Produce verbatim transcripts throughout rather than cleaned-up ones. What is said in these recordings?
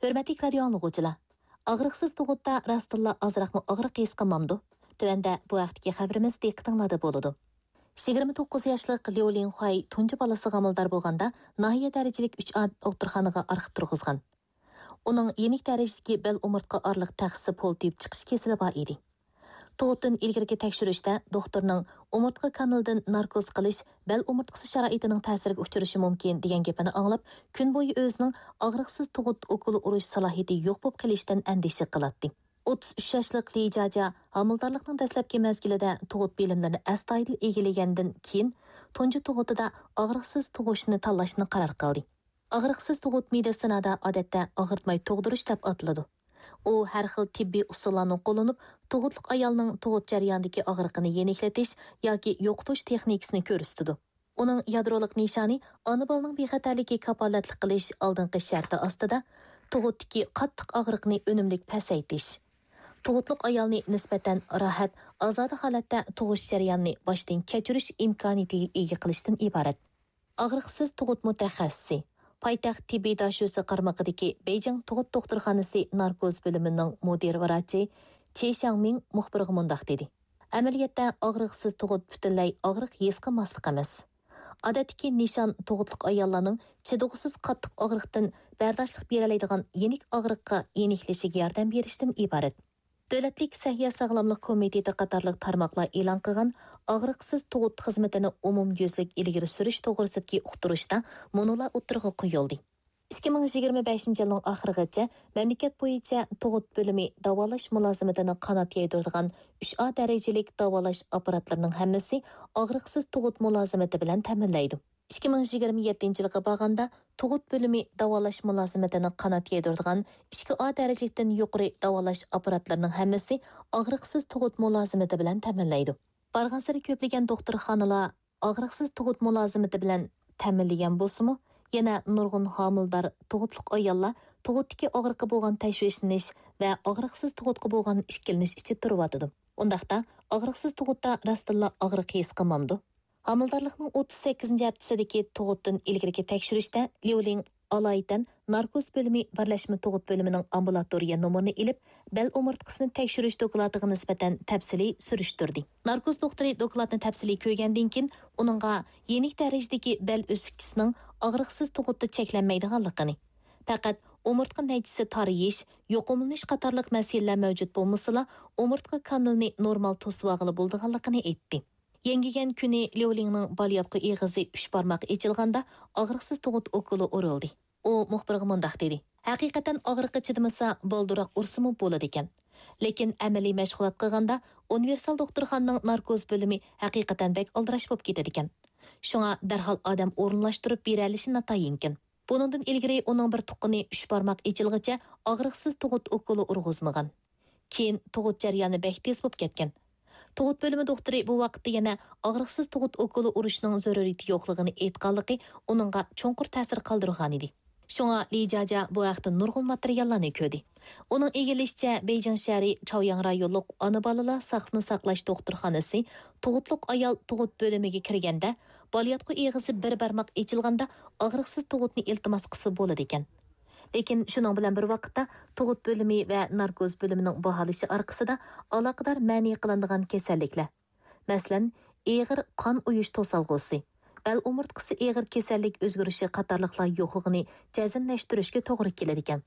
ھۆرمەتلىك رادىيو ئاڭلىغۇچىلار! ئاغرىقسىز تۇغۇتتا راستتىنلا ئازراقمۇ ئاغرىق ھېس قىلمامدۇ؟ تۆۋەندە بۇ ھەقتىكى خەۋىرىمىز دىققىتىڭلاردا بولىدۇ. يىگىرمە توققۇز ياشلىق ليۇ لىڭخۇەي تۇنجى بالىسىغا ھامىلىدار بولغاندا، ناھىيە دەرىجىلىك ئۈچ ئا دوختۇرخانىغا ئارخىپ تۇرغۇزغان. ئۇنىڭ يېنىك دەرىجىدىكى بەل ئومۇرتقا ئارىلىق تەخسىسى پولتىيىپ چىقىش كېسىلى بار ئىدى. تۇغۇتتىن ئىلگىرىكى تەكشۈرۈشتە دوختۇرنىڭ ئومۇرتقا كانىلىدىن ناركوز قىلىش بەل ئومۇرتقىسى شارائىتىنىڭ تەسىرىگە ئۇچرىشى مۇمكىن دېگەن گېپىنى ئاڭلاپ، كۈن بويى ئۆزىنىڭ ئاغرىقسىز تۇغۇت ئوكۇلى ئۇرۇش سالاھىيىتى يوق بولۇپ قېلىشتىن ئەندىشە قىلاتتى. ئوتتۇز ئۈچ ياشلىق لى جاجا ھامىلىدارلىقنىڭ دەسلەپكى مەزگىلىدە تۇغۇت بىلىملىرىنى ئەستايىدىل ئىگىلىگەندىن كېيىن، تۇنجى تۇغۇتىدا ئاغرىقسىز تۇغۇشنى تاللاشنى قارار قىلدى. ئاغرىقسىز تۇغۇت مېدىتسىنادا ئادەتتە ئاغرىتماي تۇغدۇرۇش دەپ ئاتىلىدۇ. ئۇ ھەر خىل تېببىي ئۇسۇللارنى قوللىنىپ، تۇغۇتلۇق ئايالنىڭ تۇغۇت جەريانىدىكى ئاغرىقىنى يېنىكلىتىش ياكى يوقىتىش تېخنىكىسىنى كۆرسىتىدۇ. ئۇنىڭ يادرولۇق نىشانى ئانا بالىنىڭ بىخەتەرلىكى كاپالەتلىك قىلىش ئالدىنقى شەرتى ئاستىدا تۇغۇتتىكى قاتتىق ئاغرىقنى ئۈنۈملۈك پەسەيتىش، تۇغۇتلۇق ئايالنى نىسبەتەن راھەت، ئازادە ھالەتتە تۇغۇش جەريانىنى باشتىن كەچۈرۈش ئىمكانىيىتىگە ئىگە قىلىشتىن ئىبارەت. ئاغرىقسىز تۇغۇت مۇتەخەسسىسى، پايتەخت تېببىي داشۆسى قارمىقىدىكى بېيجىڭ تۇغۇت دوختۇرخانىسى ناركوز بۆلۈمىنىڭ مۇدىر ۋراچى چې شياڭمىڭ مۇخبىرغا مۇنداق دېدى: ئەمەلىيەتتە ئاغرىقسىز تۇغۇت پۈتۈنلەي ئاغرىق ھېس قىلماسلىق ئەمەس. ئادەتتىكى نىشان تۇغۇتلۇق ئاياللارنىڭ چىدىغۇسىز قاتتىق ئاغرىقتىن بەرداشلىق بېرەلەيدىغان يېنىك ئاغرىققا يېنىكلىشىگە ياردەم بېرىشتىن ئىبارەت. دۆلەتلىك سەھىيە ساغلاملىق كومىتېتى قاتارلىق تارماقلار ئېلان قىلغان ئاغرىقسىز تۇغۇت خىزمىتىنى ئومۇميۈزلۈك ئىلگىرى سۈرۈش توغرىسىدىكى ئۇقتۇرۇشتا مۇنۇلار ئوتتۇرىغا قويۇلدى. ئىككى مىڭ يىگىرمە بەشىنچى يىلنىڭ ئاخىرىغىچە مەملىكەت بويىچە تۇغۇت بۆلۈمى داۋالاش مۇلازىمىتىنى قانات يايدۇرىدىغان ئۈچ ئا دەرىجىلىك داۋالاش ئاپپاراتلىرىنىڭ ھەممىسى ئاغرىقسىز تۇغۇت مۇلازىمىتى بىلەن تەمىنلەيدۇ. ئىككى مىڭ يىگىرمە يەتتىنچى يىلغا بارغاندا، تۇغۇت بۆلۈمى داۋالاش مۇلازىمىتىنى قانات يايدۇرىدىغان ئىككى ئا دەرىجىلىكتىن يۇقىرى داۋالاش ئاپپاراتلىرىنىڭ ھەممىسى ئاغرىقسىز تۇغۇت مۇلازىمىتى بىلەن تەمىنلەيدۇ. بارغانسېرى كۆپلىگەن دوختۇرخانىلار ئاغرىقسىز تۇغۇت مۇلازىمىتى بىلەن تەمىنلىگەن بولسىمۇ، يەنە نۇرغۇن ھامىلىدار تۇغۇتلۇق ئاياللار تۇغۇتتىكى ئاغرىققا بولغان تەشۋىشلىنىش ۋە ئاغرىقسىز تۇغۇتقا بولغان ئىككىلىنىش ئىچىدە تۇرۇۋاتىدۇ. ئۇنداقتا، ئاغرىقسىز تۇغۇتتا راستتىنلا ئاغرىق ھېس قىلمامدۇ؟ ھامىلىدارلىقنىڭ ئوتتۇز سەككىزىنچى ھەپتىسىدىكى تۇغۇتتىن ئىلگىرىكى تەكشۈرۈشتە ليۇلىڭ ئالايىتەن ناركوز بۆلۈمى بىرلەشمە تۇغۇت بۆلۈمىنىڭ ئامبۇلاتورىيە نومۇرىنى ئېلىپ، بەل ئومۇرتقىسىنى تەكشۈرۈش دوكلاتىغا نىسبەتەن تەپسىلىي سۈرۈشتۈردى. ناركوز دوختۇرى دوكلاتنى تەپسىلىي كۆرگەندىن كېيىن، ئۇنىڭغا يېنىك دەرىجىدىكى بەل ئۆسۈكچىسىنىڭ ئاغرىقسىز تۇغۇتتا چەكلەنمەيدىغانلىقىنى، پەقەت ئومۇرتقا نەيچىسى تارىيىش، يۇقۇملىنىش قاتارلىق مەسىلىلەر مەۋجۇت بولمىسىلا، ئومۇرتقا كانىلىنى نورمال توسۇۋالغىلى بولىدىغانلىقىنى ئېيتتى. يەڭگىگەن كۈنى ليۇلىڭنىڭ بالىياتقۇ ئېغىزى ئۈچ بارماق ئېچىلغاندا، ئاغرىقسىز تۇغۇت ئوكۇلى ئۇرۇلدى. ئۇ مۇخبىرغا مۇنداق دېدى: ھەقىقەتەن ئاغرىققا چىدىمىسا، بالدۇرراق ئۇرسىمۇ بولىدىكەن. لېكىن ئەمەلىي مەشغۇلات قىلغاندا، ئۇنىۋېرسال دوختۇرخانىنىڭ ناركوز بۆلۈمى ھەقىقەتەن بەك ئالدىراش بولۇپ كېتىدىكەن. شۇڭا دەرھال ئادەم ئورۇنلاشتۇرۇپ بېرەلىشى ناتايىنكەن. بۇنىڭدىن ئىلگىرى ئۇنىڭ بىر تۇغقىنى ئۈچ بارماق ئېچىلغىچە ئاغرىقسىز تۇغۇت ئوكۇلى ئۇرغۇزمىغان. كېيىن تۇغۇت جەريانى بەك تېز بولۇپ كەتكەن. تۇغۇت بۆلۈمى دوختۇرى بۇ ۋاقىتتا يەنە ئاغرىقسىز تۇغۇت ئوكۇلى ئۇرۇشنىڭ زۆرۈرىيىتى يوقلۇقىنى ئېيتقانلىقى ئۇنىڭغا چوڭقۇر تەسىر قالدۇرغانىدى. شۇڭا لى جاجيا بۇ ھەقتە نۇرغۇن ماتېرىياللارنى كۆردى. ئۇنىڭ ئىگىلىشىچە، بېيجىڭ شەھىرى چاۋياڭ رايونلۇق ئانا بالىلار ساقلىنى ساقلاش دوختۇرخانىسى تۇغۇتلۇق ئايال تۇغۇت بۆلۈمىگە كىرگەندە، بالىياتقۇ ئېغىزى بىر بارماق ئېچىلغاندا ئاغرىقسىز تۇغۇتنى ئىلتىماس قىلسا بولىدىكەن. لېكىن شۇنىڭ بىلەن بىر ۋاقىتتا، تۇغۇت بۆلۈمى ۋە ناركوز بۆلۈمىنىڭ باھالىشى ئارقىسىدا ئالاقىدار مەنئى قىلىنىدىغان كېسەللىكلەر، مەسىلەن، ئېغىر قان ئۇيۇش توسالغۇسى، بەل ئومۇرتقىسى ئېغىر كېسەللىك ئۆزگىرىشى قاتارلىقلار يوقلۇقىنى جەزملەشتۈرۈشكە توغرا كېلىدىكەن.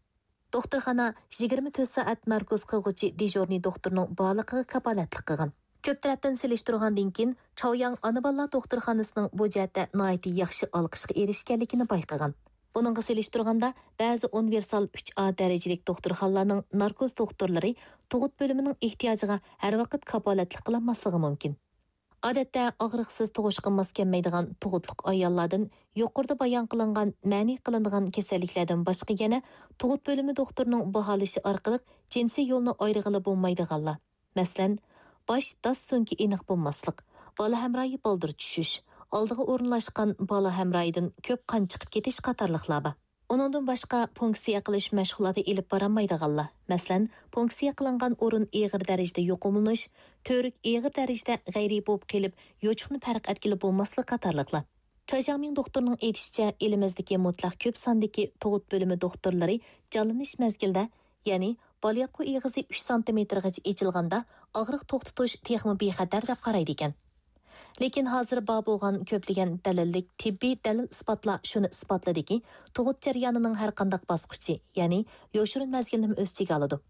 دوختۇرخانا يىگىرمە تۆت سائەت ناركوز قىلغۇچى دېژۇرنىي دوختۇرنىڭ بارلىقىغا كاپالەتلىك قىلغان. كۆپ تەرەپتىن سېلىشتۇرغاندىن كېيىن، چاۋياڭ ئانا بالىلار دوختۇرخانىسىنىڭ بۇ جەھەتتە ناھايىتى ياخشى ئالقىشقا ئېرىشكەنلىكىنى بايقىغان. بۇنىڭغا سېلىشتۇرغاندا، بەزى ئۇنىۋېرسال ئۈچ ئا دەرىجىلىك دوختۇرخانىلارنىڭ ناركوز دوختۇرلىرى تۇغۇت بۆلۈمىنىڭ ئېھتىياجىغا ھەر ۋاقىت كاپالەتلىك قىلالماسلىقى مۇمكىن. ئادەتتە ئاغرىقسىز تۇغۇشقا ماس كەلمەيدىغان تۇغۇتلۇق ئاياللاردىن يۇقىرىدا بايان قىلىنغان مەنئى قىلىنىدىغان كېسەللىكلەردىن باشقا يەنە تۇغۇت بۆلۈمى دوختۇرىنىڭ باھالىشى ئارقىلىق جىنسىي يولنى ئايرىغىلى بولمايدىغانلار، مەسىلەن، باش داس سۆڭىكى ئېنىق بولماسلىق، بالا ھەمراھى بالدۇر چۈشۈش، ئالدىغا ئورۇنلاشقان بالا ھەمراھىدىن كۆپ قان چىقىپ كېتىش قاتارلىقلار بار. ئۇنىڭدىن باشقا، پونكسىيە قىلىش مەشغۇلاتى ئېلىپ بارالمايدىغانلار، مەسىلەن، پونكسىيە قىلىنغان ئورۇن ئېغىر دەرىجىدە يۇقۇملىنىش، تۈۋرۈك ئېغىر دەرىجىدە غەيرىي بولۇپ قېلىپ، يوچۇقنى پەرق ئەتكىلى بولماسلىق قاتارلىقلار. چاي جياڭمىڭ دوختۇرنىڭ ئېيتىشىچە، ئېلىمىزدىكى مۇتلەق كۆپ ساندىكى تۇغۇت بۆلۈمى دوختۇرلىرى جانلىنىش مەزگىلىدە، يەنى بالىياتقۇ ئېغىزى ئۈچ سانتىمېتىرغىچە ئېچىلغاندا ئاغرىق توختىتىش تېخىمۇ بىخەتەر دەپ قارايدىكەن. لېكىن ھازىر بار بولغان كۆپلىگەن دەلىللىك تېببىي دەلىل-ئىسپاتلار شۇنى ئىسپاتلىدىكى، تۇغۇت جەريانىنىڭ ھەرقانداق باسقۇچى، يەنى يوشۇرۇن مەزگىلنىمۇ ئۆز ئىچىگە ئالىدۇ.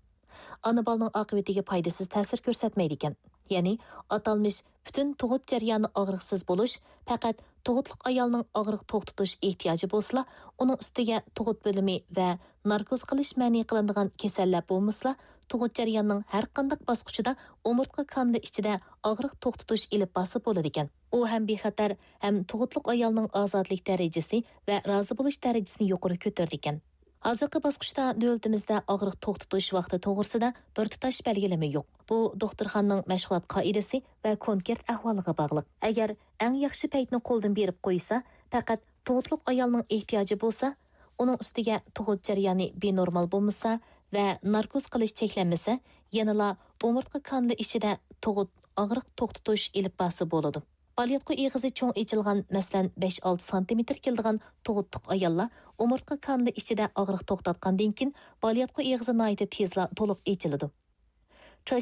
ئانا بالىنىڭ ئاقىۋىتىگە پايدىسىز تەسىر كۆرسەتمەيدىكەن. يەنى ئاتالمىش پۈتۈن تۇغۇت جەريانى ئاغرىقسىز بولۇش پەقەت تۇغۇتلۇق ئايالنىڭ ئاغرىق توختىتىش ئېھتىياجى بولسىلا، ئۇنىڭ ئۈستىگە تۇغۇت بۆلۈمى ۋە ناركوز قىلىش مەنئى قىلىنىدىغان كېسەللەر بولمىسىلا، تۇغۇت جەريانىنىڭ ھەرقانداق باسقۇچىدا ئومۇرتقا كانىلى ئىچىدە ئاغرىق توختىتىش ئېلىپ بارسا بولىدىكەن. ئۇ ھەم بىخەتەر، ھەم تۇغۇتلۇق ئايالنىڭ ئازادىلىك دەرىجىسى ۋە رازى بولۇش دەرىجىسىنى يۇقىرى كۆتۈرىدىكەن. ھازىرقى باسقۇچتا دۆلىتىمىزدە ئاغرىق توختىتىش ۋاقتى توغرىسىدا بىر تۇتاش بەلگىلىمە يوق. بۇ دوختۇرخانىنىڭ مەشغۇلات قائىدىسى ۋە كونكرېت ئەھۋالىغا باغلىق. ئەگەر ئەڭ ياخشى پەيتنى قولدىن بېرىپ قويسا، پەقەت تۇغۇتلۇق ئايالنىڭ ئېھتىياجى بولسا، ئۇنىڭ ئۈستىگە تۇغۇت جەريانى بىنورمال بولمىسا ۋە ناركوز قىلىش چەكلەنمىسە، يەنىلا ئومۇرتقا كانىلى ئىچىدە تۇغۇت ئاغرىق توختىتىش ئېلىپ بارسا بولىدۇ. بالىياتقۇ ئېغىزى چوڭ ئېچىلغان، مەسىلەن، بەش ئالتە سانتىمېتىر كېلىدىغان تۇغۇتلۇق ئاياللار ئومۇرتقا كانىلى ئىچىدە ئاغرىق توختاتقاندىن كېيىن، بالىياتقۇ ئېغىزى ناھايىتى تېزلا تولۇق ئېچىلىدۇ.